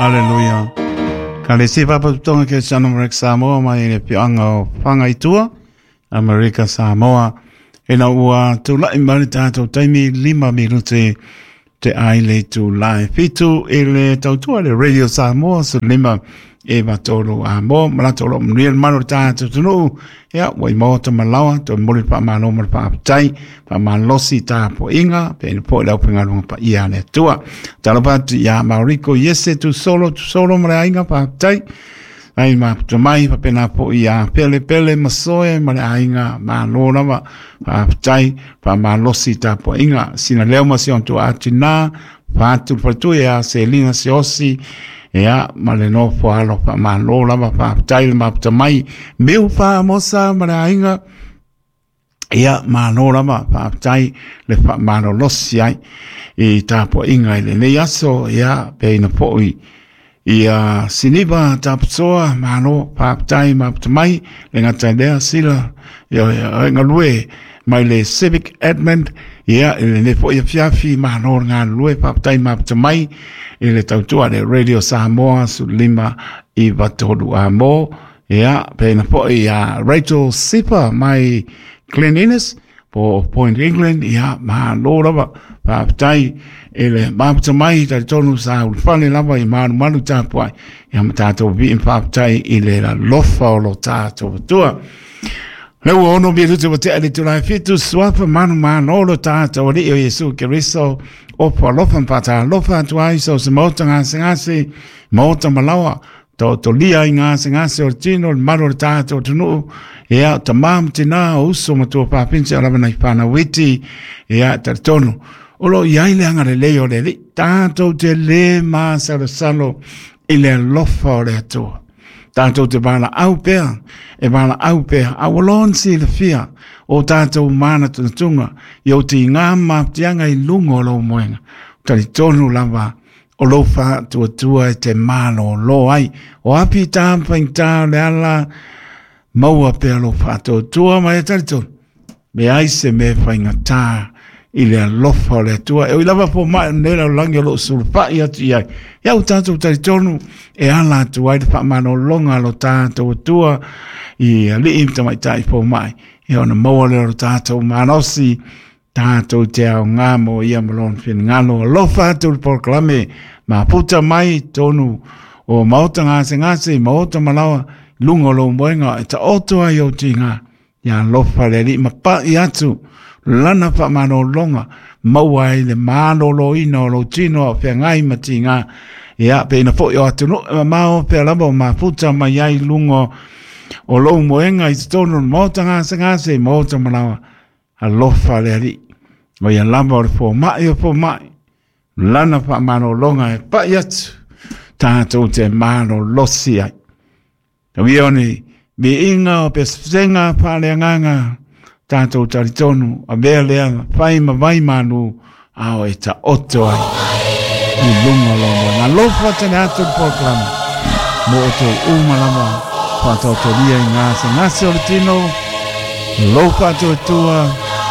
Aleluia. Ka le si papaputonga ke Channel America Samoa mai le pioanga o Whangaitua, Amerika Samoa. E na ua tūlai mai le tātou taimi 5 minute te ai le tūlai 7 i le tautua le Radio Samoa su 5 e matolu a mo malato lo mnuia le malo le tātou tunuu ia ua i maota malawa to moli pa malo mo le paapatai pa malosi tā po inga pe ina po i lau pengalunga pa ia le atua talofa atu ia Mauriko Iese tu solo ma le aiga paapatai ai ma puta mai papena po ia pele pele masoe ma le aiga malo lava paapatai pa malosi tā po inga sina leo ma si ontu atu nā pātu patu ia se lina se osi ia ma le nofo alo pa malo lava paapatai le maputa mai meu pa mosa ma le aiga ia malo lava paapatai le fa malo losi ai i tāpo inga i le nei aso ia pe ina po ia siniva taputoa malo paapatai maputa mai le ngata lea sila ia ngalue mai le Civic Edmund ia i le nei foi fiafi malo ngā lue paapatai maputa mai i le tautua le Radio Samoa su 5 i vatolu a mo ia pe ina foi ia Rachel Sipa mai Glen Innes po Point England ia malo lava paapatai e le maputa mai talitonu sa ulufale lava i malumalu tapuai ia ma tātou vi'i paapatai i le lalofa o lo tātou atua. Le ua ono minute wa te ali tūlai 7 suafa manu manolo tātou ali o Iesu Keriso o pa alofa mpata alofa atu ai so se mota ngase ngase mota malawa to to lia i ngase ngase o tino le malo le tātou tunuu ia ta mam tina o uso matua papinse o lava nei whana witi ia talitonu o lo iai le anga le lei o le li tātou te le masalosalo i le alofa o le Atua. Tātou te wala au pea, e wala au pea, a walon si le fia o tātou mana tunatunga, i o te ngā maptianga i lunga o lau moenga. Talitonu lava o lau whaatuatua e te malo lo ai. O api tāmpaing tā le ala, maua pea lau whaatuatua mai e talitonu. Me ai se me whainga tā i le alofa o le Atua. E oi lava po mai nei lau langi o loo sulupai atu i ai. Ia o tātou talitonu e ala atu ai le whaamanolonga lo tātou Atua i alii tamaitai po mai. Ia ona maua le o tātou manosi tātou te ao ngā mo ia malon whingalo. Alofa atu le polokalame ma puta mai tonu o maota ngase ngase, maota malawa lunga o lo moenga e ta oto ai o tinga. Ia alofa le alii mapa'i atu lana fa'amalōloga maua ai le malōlōina o lou tino a o feagai ma tigā ia pe ina fo'i o atunu'u e mamao pea lava o mafuta mai ai luga o lou moega i totonu o le maota gasegase i maota malaoa alofa le alii o ia lava o le foma'i o foma'i lana fa'amalōloga e pa'i atu tatou te malolosi ai. Tauia o ni miiga o pesepesega faaleagaga tātou talitonu a mea lea fai ma vai manu ao e ta oto ai i lunga o lau moega. Alofa tele atu le polokalame mo o tou uma lava whaatautoria i ngā se ngase o le tino, alofa atu e tua,